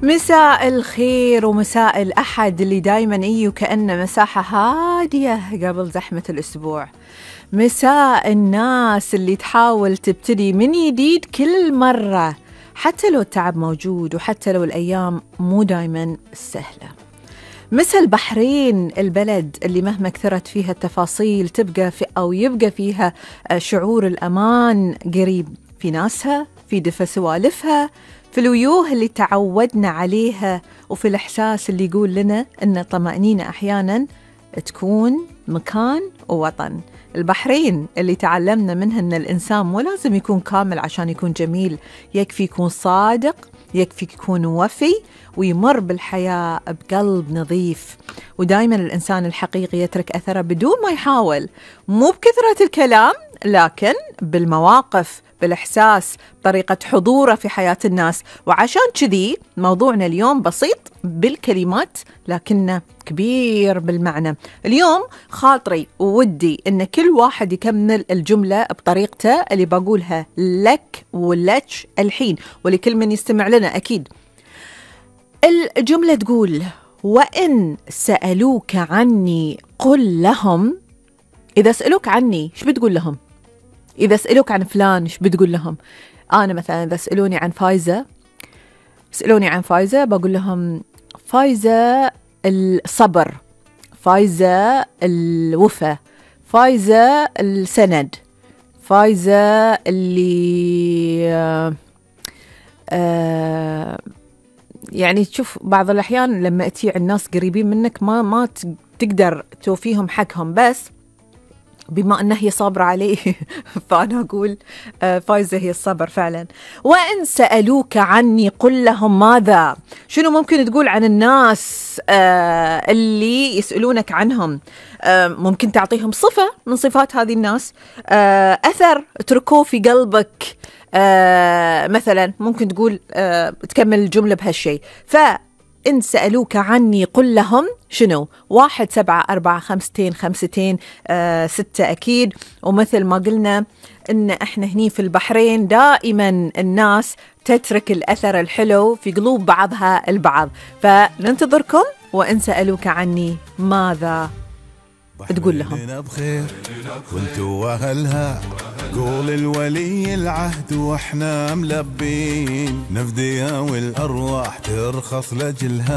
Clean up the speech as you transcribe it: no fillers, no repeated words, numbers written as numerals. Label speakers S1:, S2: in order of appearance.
S1: مساء الخير ومساء الأحد اللي دايما وكأنه مساحة هادية قبل زحمة الأسبوع. مساء الناس اللي تحاول تبتدي من جديد كل مرة، حتى لو التعب موجود وحتى لو الأيام مو دايما سهلة. مساء البحرين، البلد اللي مهما كثرت فيها التفاصيل تبقى أو يبقى فيها شعور الأمان قريب في ناسها، في دفى سوالفها، في الويوه اللي تعودنا عليها، وفي الإحساس اللي يقول لنا أن الطمأنينة أحياناً تكون مكان ووطن. البحرين اللي تعلمنا منها أن الإنسان مو لازم يكون كامل عشان يكون جميل، يكفي يكون صادق، يكفي يكون وفي، ويمر بالحياة بقلب نظيف. ودايماً الإنسان الحقيقي يترك أثره بدون ما يحاول، مو بكثرة الكلام لكن بالمواقف، بالإحساس، طريقة حضوره في حياة الناس. وعشان كذي موضوعنا اليوم بسيط بالكلمات لكنه كبير بالمعنى. اليوم خاطري وودي إن كل واحد يكمل الجملة بطريقته اللي بقولها لك ولك الحين ولكل من يستمع لنا أكيد. الجملة تقول: وإن سألوك عني قل لهم. إذا سألوك عني إيش بتقول لهم؟ إذا سألوك عن فلان إيش بتقول لهم؟ أنا مثلا إذا سألوني عن فايزة بقول لهم: فايزة الصبر، فايزة الوفا، فايزة السند، فايزة اللي يعني تشوف بعض الأحيان لما تجي الناس قريبين منك ما تقدر توفيهم حقهم، بس بما أنها هي صابرة عليه فأنا أقول فايزة هي الصبر فعلا. وإن سألوك عني قل لهم ماذا. شنو ممكن تقول عن الناس اللي يسألونك عنهم؟ ممكن تعطيهم صفة من صفات هذه الناس، أثر تركوه في قلبك. مثلا ممكن تقول تكمل الجملة بهالشيء. إن سألوك عني قل لهم شنو؟ 1 7 4 5 5 6 أكيد. ومثل ما قلنا إن إحنا هني في البحرين دائما الناس تترك الأثر الحلو في قلوب بعضها البعض، فننتظركم. وإن سألوك عني ماذا تقول لهم؟
S2: بخير وانتوا أهلها، قول الولي العهد واحنا ملبين، نفديها والأرواح ترخص لجلها.